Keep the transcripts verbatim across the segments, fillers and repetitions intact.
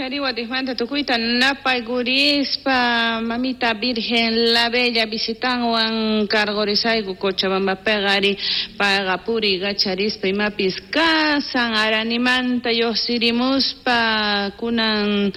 Kachariwa dijmanta tukuyta napaykurispa mamita Virgen la Bella visitanwan kargorisayku Cochabambapeqa ari payqa puriy kacharispa imapis kasan aranimanta lluqsirimuspa kunan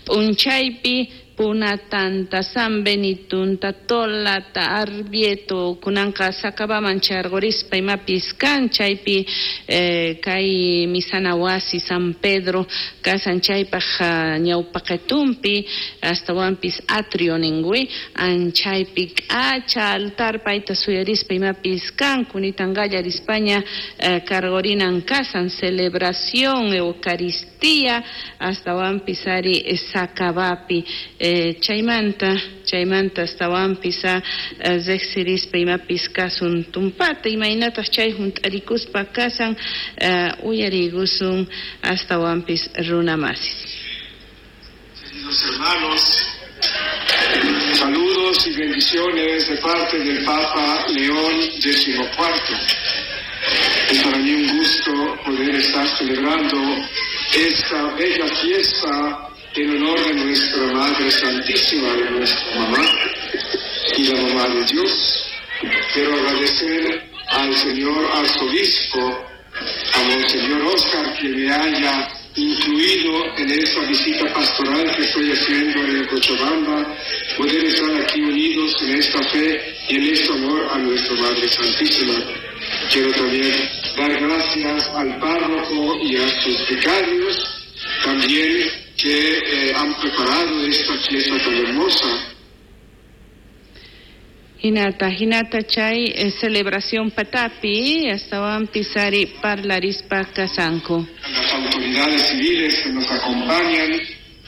p'unchaypi Punatanta, San Benitunta, Tolata, Arbieto, kunanqa Sacabaman chargorispa imapis kan chaypi eh, kay misana wasi San Pedro kasan chaypaj ñawpaqetumpi astawanpis atrio ningui anchaypi k'acha altar payta suyarispa imapis kan kunitan qallarispaña eh, kargorinan kasan celebración Eucaristía astawanpis ari Sacabapi. Eh, chaymanta chaymanta astawanpis a riqsirispa imapis kasun tumpata imaynataq chay hunt'arikuspa kasan uh, uyariykusun astawanpis runamasis. Queridos hermanos, saludos y bendiciones de parte del Papa León décimo cuarto. Es para mí un gusto poder estar celebrando esta bella fiesta en honor de nuestra Madre Santísima, de nuestra mamá y la mamá de Dios. Quiero agradecer al señor arzobispo, a Monseñor Oscar, que me haya incluido en esta visita pastoral que estoy haciendo en Cochabamba, poder estar aquí unidos en esta fe y en este amor a nuestra Madre Santísima. Quiero también dar gracias al párroco y a sus vicarios, también que eh, han preparado esta fiesta tan hermosa. Hinata, hinata chay eh, celebración patapi, astawanpis ari parlarispa kasanku. A las autoridades civiles que nos acompañan,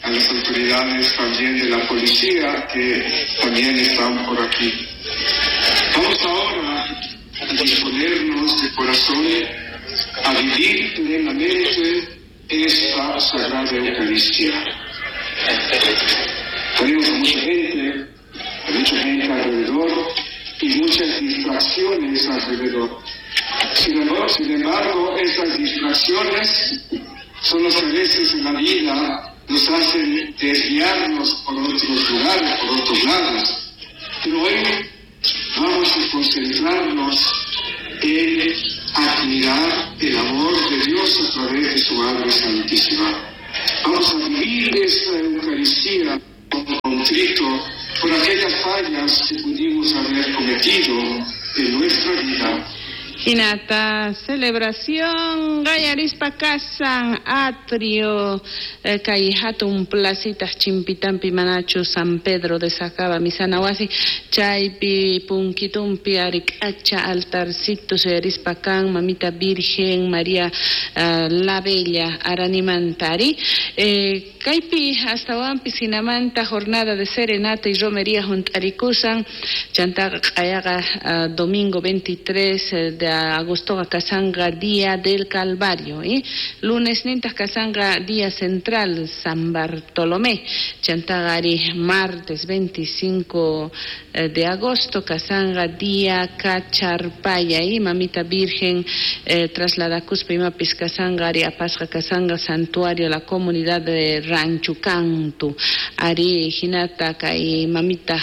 a las autoridades también de la policía que también están por aquí. Vamos ahora a disponernos de corazón a vivir plenamente esta Sagrada Eucaristía. Tenemos a mucha gente, a mucha gente alrededor y muchas distracciones alrededor. Sin embargo, sin embargo, esas distracciones son las que a veces en la vida nos hacen desviarnos por otros lugares, por otros lados. Pero hoy vamos a concentrarnos en admirar el amor de Dios a través de su Madre Santísima. Vamos a vivir esta Eucaristía con contrito por aquellas fallas que pudimos haber cometido en nuestra vida. Hinata celebración qallarispa kasan atrio eh, kay hatun placitas chimpitampi manachu San Pedro de Sacaba misana wasi chaypi punkitumpi ari k'acha altarcito suyarispa kan mamita Virgen María uh, la Bella aranimantari eh, kaypi astawanpis hinamanta jornada de serenata y romería hunt'arikusan chantaqa q'ayaqa uh, domingo veintitrés de agosto kasanga Día del Calvario, ¿eh? Lunes nintaj kasanga Día Central San Bartolomé, chantagari martes veinticinco de agosto kasanga Día Cacharpaya y Mamita Virgen eh, trasladakuspa imapis kasanga ari apasqa kasanga santuario la comunidad de Rancho Cantu ari hinata kay mamita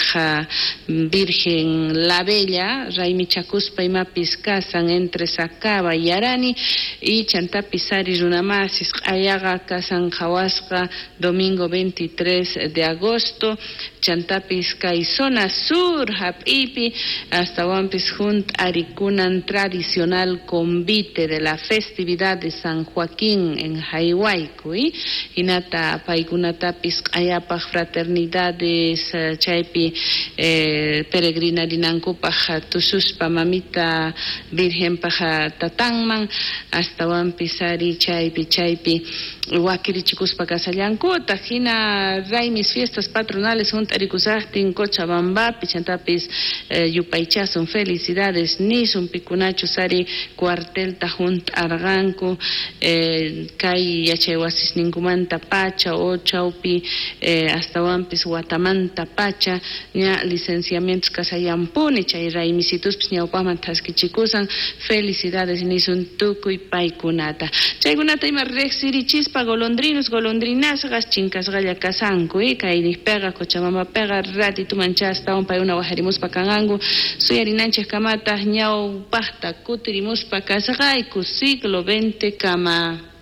Virgen la Bella raymichakuspa imapis kasan entre Sacaba y Arani y chantapis ari runamasis q'ayaqa kasan qhawasqa domingo veintitrés de agosto chantapis kay zona sur hap'ipi astawanpis hunt'arikunan tradicional convite de la festividad de San Joaquín en Jayhuayco y hinata paykunatapis q'ayapaj fraternidades chaypi eh, peregrinarinankupaj tususpa mamita Virgen paja tatanman astawanpis ari chaypi chaypi wakirichikuspa kasallankuta hina raymis fiestas patronales hunt'arikusaqtin Cochabambapi chantapis eh, yupaychasun felicidades nisun pikunachus ari cuartelta hunt'arqanku eh, kay yachaywasisninkumanta pacha o chawpi eh, astawanpis watamanta pacha ña licenciamientos kasayanpuni chay raymisituspis ñawpaqman thaskichikusan. Felicidades nisun tukuy paykunata. Chaykunata ima riqsirichispa golondrinos, golondrinasqas chinkasqalla kasanku, eh? Kay niqpiqa Cochabambapiqa ratituman chastawan paykuna wajarimuspa kanqanku suyarinanchik kamataq ñawpaqta kutirimuspa kasqayku siglo veinte kama.